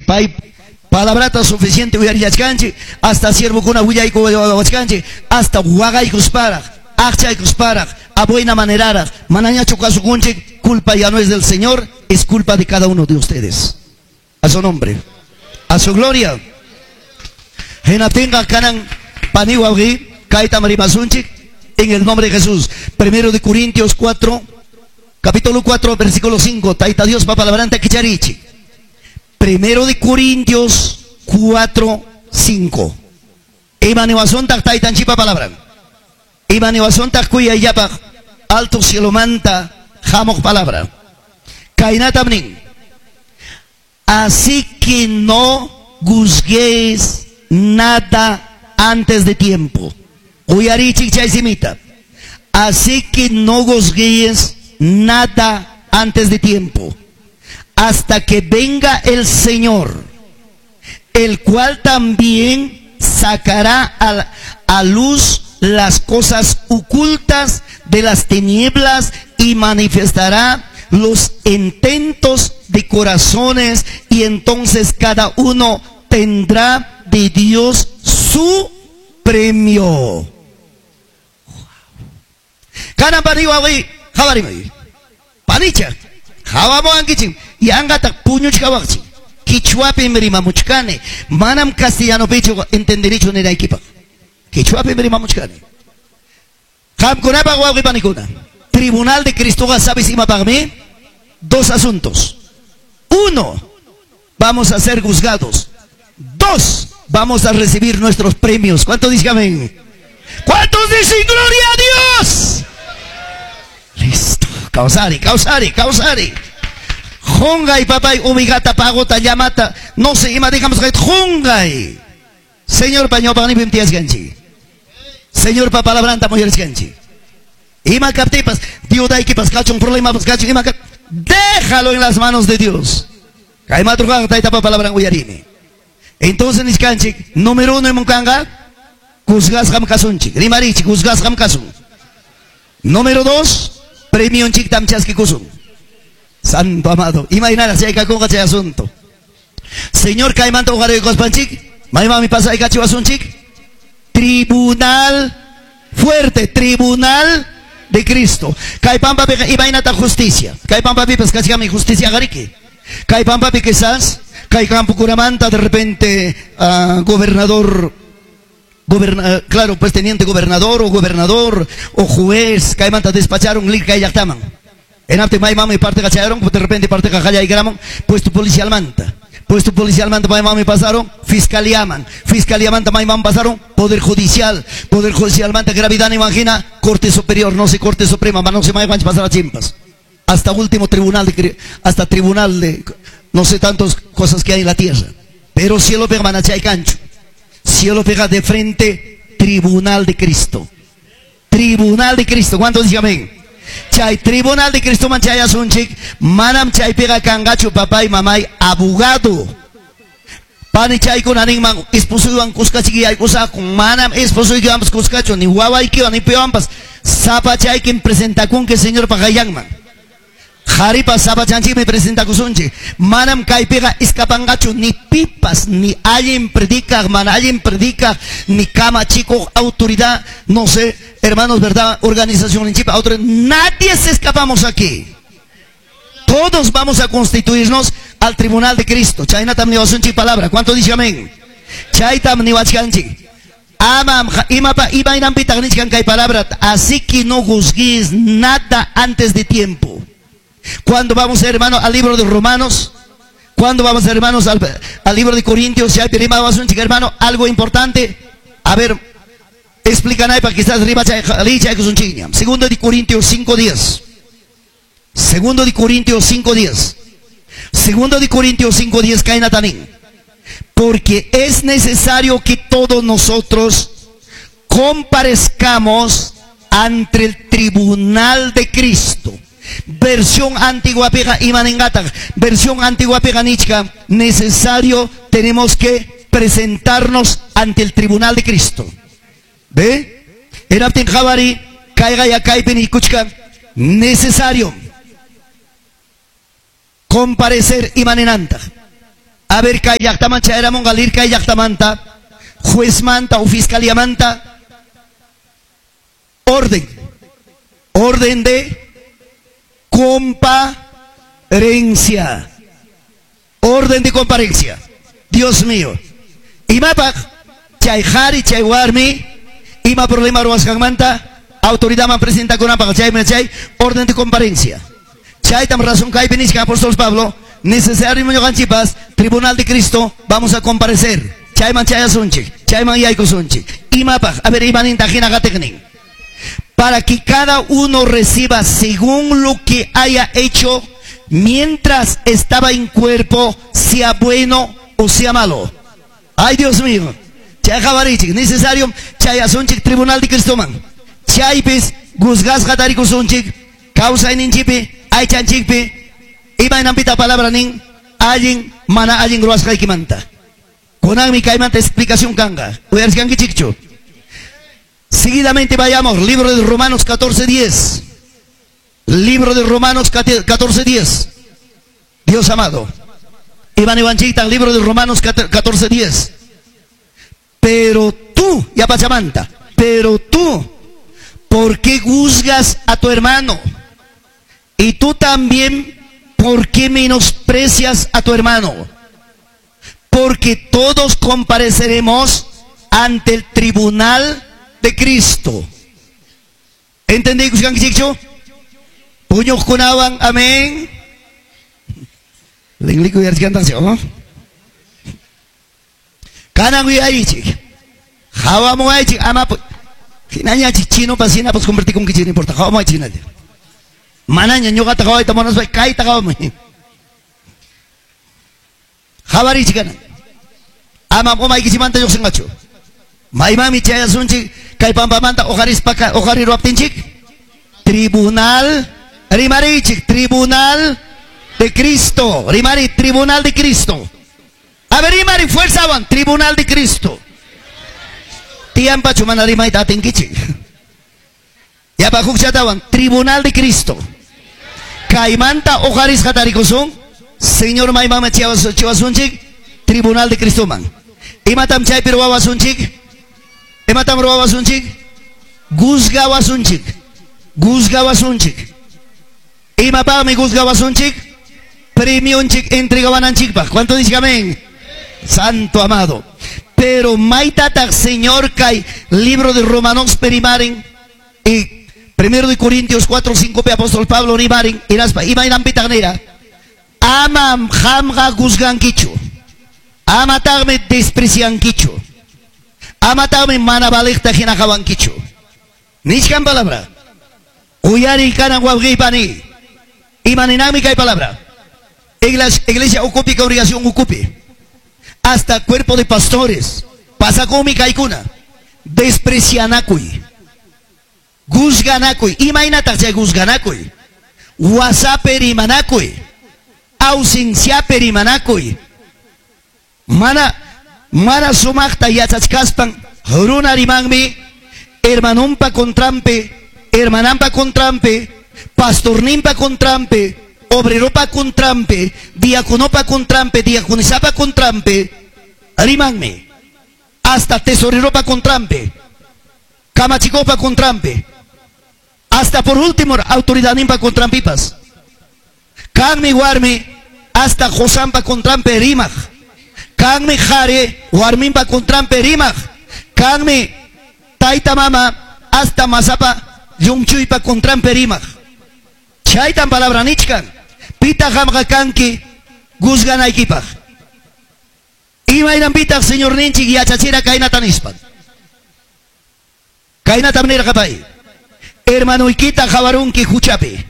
Pay palabrata suficiente uyarillachkanchik, hasta siervokuna willaykuwachkanchik, hasta waqaykusparaq, aqchaykusparaq, a buena maneraraq, manañachu kasukunchik, culpa ya no es del Señor, es culpa de cada uno de ustedes. A su nombre, a su gloria. Hinaptinqa kanan pani wawqi kaytam rimasunchik en el nombre de Jesús. Primero de Corintios 4, capítulo 4, versículo 5. Tayta Diospa palabranta kicharichik. Primero de Corintios 4, 5. Ima niwasuntaq taytanchikpa palabran? Ima niwasuntaq kuyayllapaq alto cielomanta hamuq palabra? Kaynatam nin: Así que no juzguéis nada antes de tiempo. Uyarichik chay simita. Así que no juzguéis nada antes de tiempo, hasta que venga el Señor, el cual también sacará a luz las cosas ocultas de las tinieblas y manifestará los intentos de corazones, y entonces cada uno tendrá de Dios su premio. Kanan pani wawqi qawarimay. Panicha, qawamuwankichik, yanqataq puñuchkawaqchik. Qichwapim rimamuchkani, manam castellanopichu entendirichu ninaykipaq. Qichwapim rimamuchkani. Qamkunapaq wawqi panikuna, Tribunal de Cristoqa sabes imapaqmi? Dos asuntos. Uno, vamos a ser juzgados. Dos, vamos a recibir nuestros premios. ¿Cuántos dicen amén? ¿Cuántos dicen gloria a Dios? Listo. Kawsari, kawsari, kawsari. Qunqay papay ubigata pagota llamata. No sé, ima digamos que qunqay. Señor pa ñawpaqninpim tiyaskanchik. Señor pa palabranta muyarishkanchik. Ima kaptipas, dieudaykipas kachun, problemapas kachun, ima kap... Déjalo en las manos de Dios. Kay madrugaqa taytapa palabran uyarini. Entonces nichkanchik, número uno imunkanqa, juzgasqam kasunchik. Rimarichik, juzgasqam kasun. Número dos, premionchiktam chaskikusun. Santo amado. Imaynaraq chay kakunqa chay asunto. Señor kaymanta uqariykuspanchik, maymanmi pasaykachiwasunchik? Tribunal fuerte, tribunal de Cristo. Kay pampapiqa imaynata justicia. Kay pampapipas kachkanmi justicia qariki. Kay pampapi quizás, kay campokunamanta de repente gobernador, claro, pues teniente gobernador o gobernador o juez, kaymanta despacharon kay llaqtaman. Enapti maymami parte kachayaron, de repente parte qallaykaramun, puesto policial manta. Puesto policial manta maymami pasaron, fiscalía man. Fiscalía manta mayman pasaron, poder judicial. Poder judicial manta gravedad imagina, corte superior, no sé, corte suprema, no sé, mayman pasar a chimpas. Hasta último tribunal de, hasta tribunal de, no sé, tantas cosas que hay en la tierra. Pero cielo pega manachay cancho. Cielo pega de frente, tribunal de Cristo. Tribunal de Cristo. ¿Cuántos dicen amén? Chay tribunal de Cristo man chay asunchik, manam chay pega kangachu papá y mamá abogado. Pani chay con animan esposo kuskachiki ay con manam esposo y ambos kuskachu ni wawaykiwan ni piwanpas sapa chay quien presenta con que Señor pagayanman. Jaripa sapa chanchik me presenta kusunchik. Manam kaypiqa escapangachu ni pipas, ni alguien predica, man alguien predica, ni cama chico, autoridad, no sé, hermanos, verdad, organización en chipa, autoridad, nadie se escapamos aquí. Todos vamos a constituirnos al tribunal de Cristo. Chaynatam niwasunchik palabra. ¿Cuánto dice amén? Chaytam niwachkanchik. Amam imapa imaynanpitaq nichkan kay palabra. Así que no juzguéis nada antes de tiempo. Cuando vamos, hermano, al libro de Romanos, cuando vamos, hermanos, al libro de Corintios, si hay hermano, algo importante. A ver, explican ahí para quizás Segundo de Corintios 5:10. Segundo de Corintios 5:10. Segundo de Corintios 5:10, kaynata nin. Porque es necesario que todos nosotros comparezcamos ante el tribunal de Cristo. Versión antigua pega imaningataq. Versión antigua pega nichka. Necesario tenemos que presentarnos ante el tribunal de Cristo. ¿Ve? Eraptin qhawari, kayqa ya kaypi nikuchka. Necesario comparecer imaninantaq. A ver, kay llaqtaman chayaramunqa lirkay llaqtamanta, juezmanta o fiscaliamanta, orden. Orden de comparencia. Orden de comparencia. Dios mío. Imapaq chay qhari chay warmi ima problema ruwasqanmanta autoridadman presentakunanpaq chaymi chay orden de comparencia. Chaytam razón kaypi nichkan apóstol Pablo, necesario ñuqanchikpas tribunal de Cristo vamos a comparecer. Chayman chayasunchik, chayman yaykusunchik. Imapaq, a ver, imaninta hina qatiqnin. Para que cada uno reciba según lo que haya hecho mientras estaba en cuerpo, sea bueno o sea malo. Ay, Dios mío. Chay qhawarichik, necesario chayasunchik tribunal de Cristoman. Chaypis juzgasqa tarikusunchik, kawsayninchikpi, aychanchikpi, imaynanpita palabra nin, allin mana allin ruwasqaykimanta. Kunanmi kaymanta explicación kanqa. Uyarichkankichikchu. Seguidamente vayamos, libro de Romanos 14:10. Libro de Romanos 14:10. Dios amado. Iván Ivanchita, libro de Romanos 14:10. Pero tú, ya pachamanta, pero tú, ¿por qué juzgas a tu hermano? Y tú también, ¿por qué menosprecias a tu hermano? Porque todos compareceremos ante el tribunal de Cristo. ¿Entendí, Kuskankichikchu? Puñuqkunawan, amén. Lingliku yarchkantaksi, ¿no? Kanan uyarichik. Hawamuaychik, ama hinañachik chinopas hinapas convertikunkichik, no importa, hawamuaychik hinalla. Manaña ñuqata hawayta munaspa kayta hawamuy. Hawarichik kanan. Ama umaykichikmanta lluqsinqachu. Maymanmi chayasunchik kay pampamanta uqarispa uqariruwaptinchik? Tribunal rimarichik, tribunal de Cristo. Rimari, tribunal de Cristo. A ver, rimari, fuerza wan, tribunal de Cristo. Tiyampachu mana rimayta atinkichik. Yapa hukchatawan, tribunal de Cristo. Kaymanta uqarisqa tarikusun, Señor maymanmi chiwasunchik, tribunal de Cristoman. Imatam chaypi ruwawasunchik? Imatam ruwawasunchik? Juzgawasunchik. Juzgawasunchik. Imapaqmi juzgawasunchik? Premionchik entregawananchikpaq. ¿Cuánto dice amén? Santo amado. Pero maytataq Señor kay libro de Romanos perimaren y primero de Corintios 4, 5 pe apóstol Pablo rimaren inaspa imaynanpitaq nira amam qamqa juzgankichu, amataqmi despreciankichu, amataqmi mana valiqta hina qawankichu. Nichkan palabra. Uyari kanan wawqiypani. Imaninanmi kay palabra. Iglesia ukupi, congregación ukupi. Hasta cuerpo de pastores. Pasakumi kaykuna. Desprecianakuy. Juzganakuy. Imaynataq chay juzganakuy. Wasapi rimanakuy. Ausenciapi rimanakuy. Mana mana sumaqta yachachkaspan runa rimanmi hermanunpa contranpi, hermananpa contranpi, pastorninpa contranpi, obreropa contranpi, diaconopa contranpi, diaconisapa contranpi, rimanmi. Hasta tesoreropa contranpi, kamachikopa contranpi, hasta por último autoridadninpa contranpipas. Kanmi warmi hasta qosanpa contranpi rimaq. Kanmi qhari warminpa contranpi rimaq. Kanmi tayta mama hasta masapa llumchuypa contranpi rimaq. Chaytan palabra nichkan. Pitaq qamqa kanki juzganaykipaq. Imaynanpitaq Señorninchik yachachira kaynata nispan. Kaynatam nirqa pay. Hermanoykita qawarunki huchapi.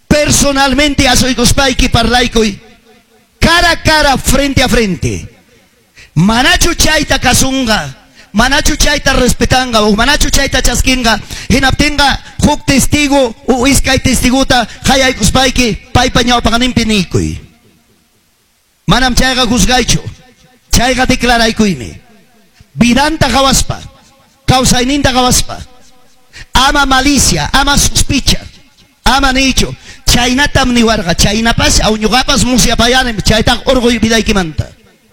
Personalmente asuykuspayki parlaykuy. Cara a cara, frente a frente. Manachu chayta kasunqa, manachu chayta respetanqa, o manachu chayta chaskinqa, hinaptinqa huk testigo o iskay testigota qayaykuspayki paypa ñawpaqninpi niykuy. Manam chayqa juzgaychu, chayqa declaraykuymi. Vidanta qawaspa, kawsayninta qawaspa. Ama malicia, ama sospecha, ama nicho. Chaynatam niwarqa, chaynapas aw ñuqapas musyapayanim, chaytaqa urquy vidaykimanta.